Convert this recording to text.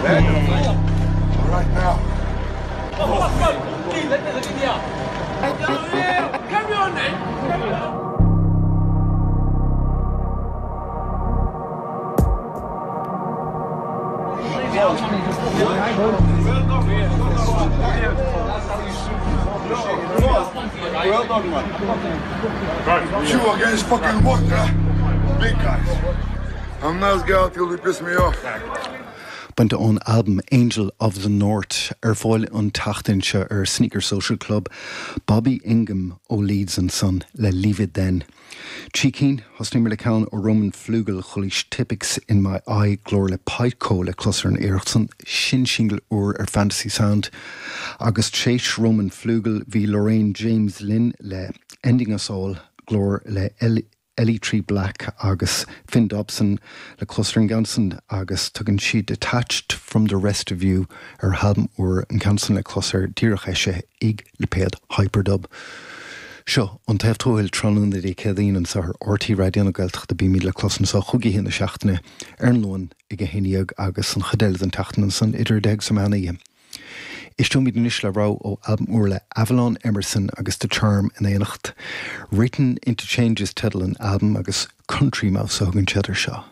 All right now. You against fucking what, huh? Big guys. I'm nice guy till they piss me off. Bainte ón albam Angel of the North, ar fáil an tseachtain seo ar Sneaker Social Club, Bobby Ingham ó Leeds ansan le Leave It Then. 3 cinn, thosnaíomar le ceann ó Roman Flügel, chualaís Tipp-Ex in My Eye, glór le Pyco le clos ar an iarracht san, sin singil úr ar Fantasy Sound. Agus tréis Roman Flügel bhí Lorraine James linn le Ending Us All, glór le Ellie 3 Black agus Finn Dobson le clos ar an gceann san agus tugann siad Detached from the Rest of You ar a halbam úr, an ceann san le clos ar díreach eisithe ag lipéad Hyperdub. Seo An Taobh Tuathail tráthnóna Dé Céadaoin anseo ar RTÉ Raidió na Gaeltachta. Bímid le clos anseo chúig oíche na seachtaine ar an Luan ag 11 agus an chuid eile den tseachtain ansan idir 10 agus an meán oíche. Éisteoimid anois le rogha ó albam úr le Avalon Emerson agus The Charm in éineacht. Written Into Change is teideal an albaim agus Country Mouse a thugann siad air seo.